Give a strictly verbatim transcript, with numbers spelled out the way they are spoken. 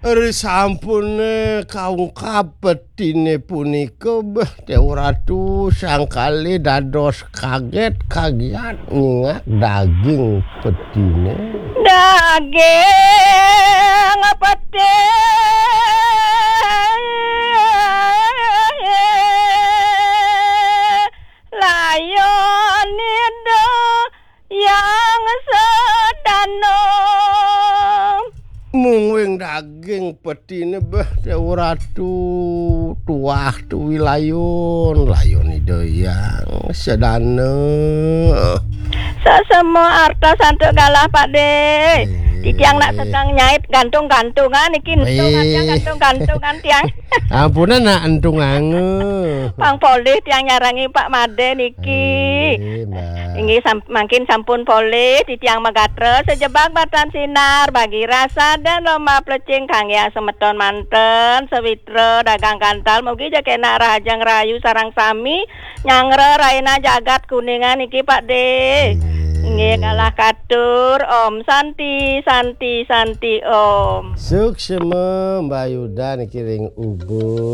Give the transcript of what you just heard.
Ri sampune kaungkap petine punika, beh, Dewa Ratu, sang kalih dados kaget, kagiat nyingak daging petine. Daging peti layon Ida Yang Sedana. Mungguing daging petine, beh, Dewa Ratu, tuah tuwi layon, layon Ida Yang Sedana. Sesama arta santuk galah, Pak De. Eh. Titiang nak sedang nyait gantung-gantungan niki, entung. Wih. Titiang gantung-gantungan tiang. Ampunan nak entung ange. Pang polih tiang nyarengi Pak Made niki. Eh, Mbak. Inggih sam-, mangkin sampun polih titiang magatra sejebak batan sinar bagi rasa dan lomba plecing kangge semeton manten, sewitra dagang kantal, mugi ja kenak rahajeng rahayu sareng sami nyanggra raina jagat Kuningan niki, Pak De. Inggih. Inggih, galah katur. Om Santi, Santi, Santi, Om. Suksma Mbak Yuda niki ring ubu.